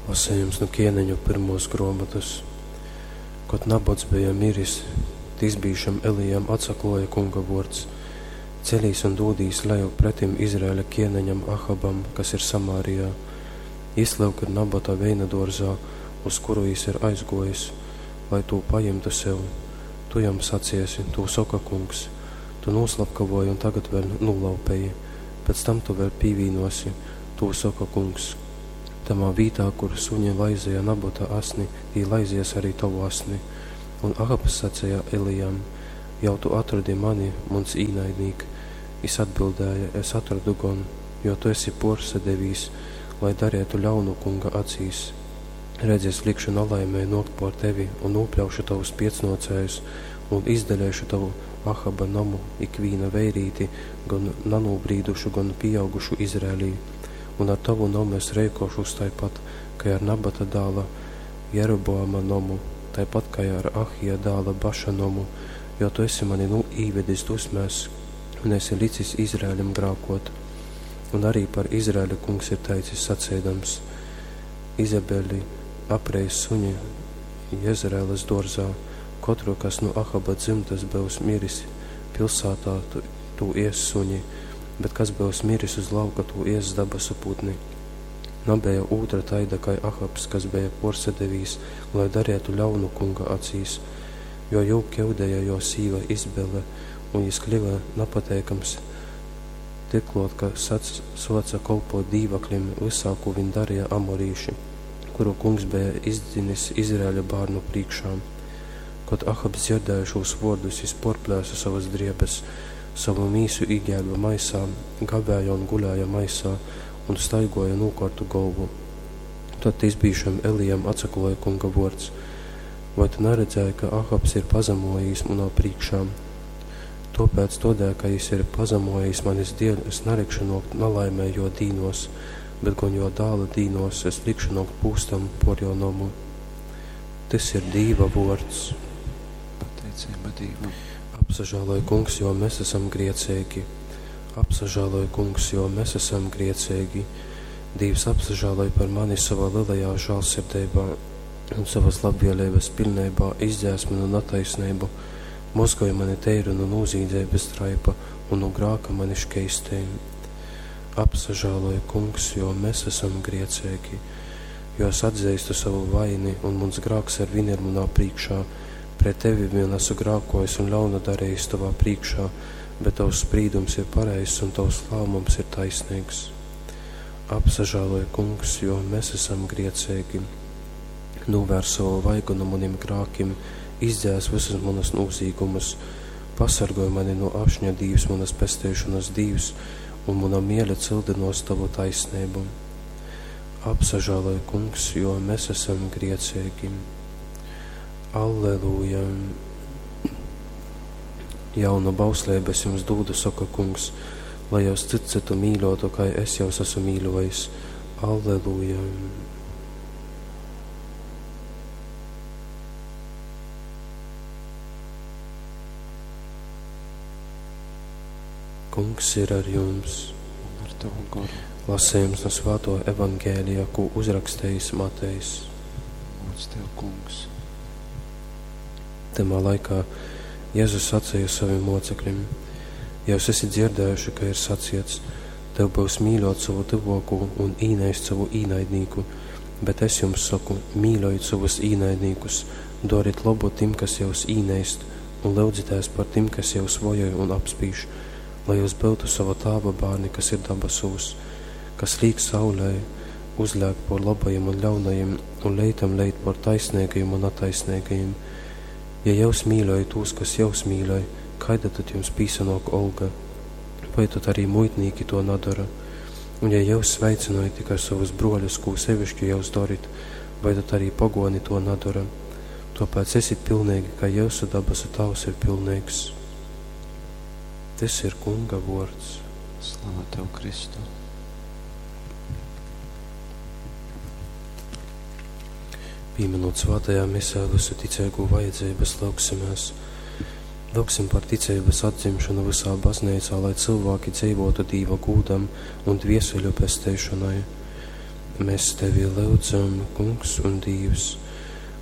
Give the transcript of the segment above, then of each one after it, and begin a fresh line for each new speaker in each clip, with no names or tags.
Lasejums nu Kieneņu pyrmuos gruomotys. Kod Nabots beja miris, tisbīšam Elijam atsakluoja Kunga vuords, Celīs un dūdīs lejup pretim Izraeļa kieneņam Ahabam, kas ir Samārijā. Jys, lyuk, ir Nabota veinaduorzā, uz kuru jys ir aizguojis, lai tū pajimtu sev. Tu jam saciesi, Tū soka Kungs, Tu nūslapkavoji un tagad vēļ nūlaupeji, pēc tam tu vēļ pīvīnuosi, tū soka Kungs. Tamā vītā, kur suņi laizeja Nabota asni, tī laizies arī tovu asni. Un Ahabs saceja Elijam, Jau tu atrodi mani, muns īnaidnīk? Jis atbildēja, Es atrodu gon, jo tu esi puorsadevīs, lai darietu ļaunu Kunga acīs. Redzi, es likšu nalaimei nuokt puor tevi un nūpļaušu tovus piecnuocējus un izdaleišu tovu Ahaba nomu ikvīna veirīti, gon nanūbrīdušu, gon pīaugušu Izraelī. Un ar tovu nomu es reikōšūs taipat, kai ar Nabata dāla Jeroboama nomu, taipat kai ar Ahija dāla Baša nomu, jo tu esi mani nu īvedis dusmēs un esi licis Izraeļam grākōt. Un arī par Izraeļu Kungs ir teicis saceidams, Izabeli apreis suņi Jezraelas dōrzā, kotru, kas nu Ahaba dzymtas byus miris pilsātā, tū ēss suņi, bet kas byus miris uz lauka, tū ēss dabasu putni. Nabeja ūtra taida kai Ahabs, kas beja pōrsadevīs, lai darietu ļaunu Kunga acīs, jo jū kiudeja jō sīva Izabele, un jys kliva napateikams tiklōt, ka sōce kolpōt dīvaklim vysā, kū viņ dareja amorīši, kuru Kungs beja izdzinis Izraeļa bārnu prīškā. Kod Ahabs dzierdēja šūs vuordus, jis puorplēse sovas driebes, sovu mīsu īgērbe maisā, gavēja un gulēja maisā un staiguoja nūkuortu golvu. Tod tisbīšam Elijam atsakluoja Kunga vuords, Voi tu naredzēji, ka Ahabs ir pazamuojīs munā prīškā? Tuopēc, tuodēļ, ka jis ir pazamuojīs manis dieļ, es nalikšu nuokt nalaimei juo dīnuos, bet gon juo dāla dīnuos es likšu nuokt pūstam puor juo nomu. Tys ir Dīva vuords.
Pateiceiba Dīvam.
Apsažāloj, Kungs, jo mes esam grieceigi. Apsažāloj, Kungs, jo mes esam grieceigi. Dīvs apsažāloj par mani sovā lielajā žālsirdeibā un sovas labvēlības piļneibā izdzēs manu nataisneibu, mozgoj mani teiru nu nūzīdzeibas traipa un nu grāka mani škeistej. Apsažāloj, Kungs, jo mes esam grieceigi, jo es atzeistu savu vaini un muns grāks arvien ir munā prīškā. Pret tevi vien esmu grākojis un ļaunu darījis tavā prīškā, bet tavs sprīdums ir pareizs un tavs lēmums ir taisnīgs. Apsažāloj, Kungs, jo mēs esam grieceigi. Nūvērs savu vaigu no maniem grākim, izdzēs visus manus nozīgumus, pasargoj mani no ašņa, Dīvs, manas pesteišanas Dīvs, un muna miele cildinos tavu taisnību. Apsažāloj, Kungs, jo mēs esam grieceigi. Alleluja! Jaunu bausleibu es jums dūdu, soka Kungs, lai jūs cits citu mīļotu, kai es jūs esmu mīļojis. Alleluja! Kungs ir ar jums.
Un ar tavu goru.
Lasījums no Svāto Evangēlija, ko uzrakstījis Matejs.
Gods tev, Kungs.
Tamā laikā Jēzus sacīja saviem mocekļiem: Jūs esat dzirdējuši, ka ir saciets, tev būs mīļot savu tuvāko un īnaist savu īnaidnieku, bet es jums saku, mīļojiet savus īnaidniekus, doriet labu tim, kas jūs īnaist, un lūdzieties par tim, kas jūs vojoj un apspīž, lai jūs būtu sava tāva bērni, kas ir dabasūs, kas līk saulē, uzlēk por labajiem un ļaunajiem, un leitam leit por taisnīgajiem un netaisnīgajiem. Ja jūs mīļojat tos, kas jūs mīļoj, kaida tad jums pīsanok olga? Vai tad arī muitnīki to nadara? Un ja jūs sveicinojat tikai savus broļus, ko sevišķi jūs darit, vai tad arī pagoni to nadara? Tāpēc esiet pilnīgi, kā jūsu dabasu tavs ir pilnīgs. Tas ir Kunga vārds.
Slava tev, Kristu.
Pieminot svētajā misē visu ticīgo vajadzības, lūgsimies. Lūgsim par ticības atdzimšanu visā baznīcā, lai cilvēki dzīvotu Dīva gūdam un dvieseļu pesteišanai. Mēs tevi lyudzam, Kungs un Dīvs,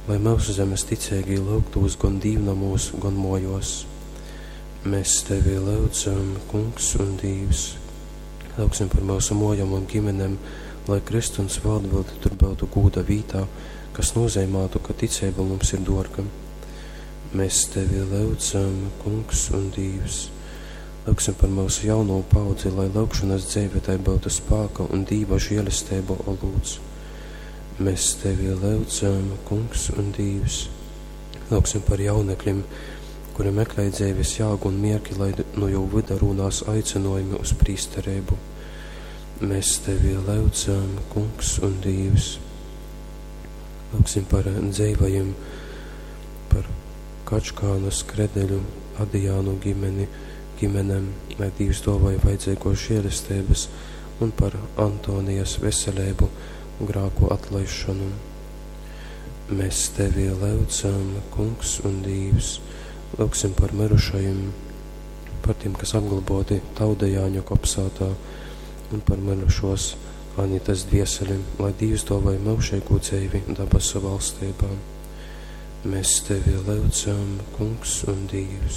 lai myusu zemes ticeigī lyugtūs gon dīvnomūs, gon muojuos. Mēs tevi lyudzam, Kungs un Dīvs. Lyugsim par myusu muojom un ģimenem, lai krysts un svātbilde tur byutu gūda vītā, kas nozeimātu, ka ticeiba mums ir duorga. Mēs tevi lyudzam, Kungs un Dīvs. Lyugsim par myusu jauno paudzi, lai lyugšonas dzeive tai byutu spāka un Dīva žēlesteibu olūts. Mēs tevi lyudzam, Kungs un Dīvs. Lyugsim par jaunekļiem, kuri meklē dzeives jāgu un mierki, lai nu jū vyda rūnās aicinojumi uz prīstereibu. Mēs tevi lyudzam, Kungs un Dīvs. Lūgsim par dzeivajiem, par Kačkānu, Skredeļu, Adijānu ģimeni, ģimenēm, lai Dīvs dāvāja vajadzīgos žēlestības un par Antonijas veselību, grāku atlaišanu. Mēs tevi lyudzam, Kungs un Dīvs, lūgsim par mirušajiem, par tiem, kas apglaboti Taudejāņu kopsātā, un par mirušos Anitas dvieseli, lai Dīvs dāvāja myužīgu dzīvi dabasu valstībā. Mēs tevi lyudzam, Kungs un Dīvs.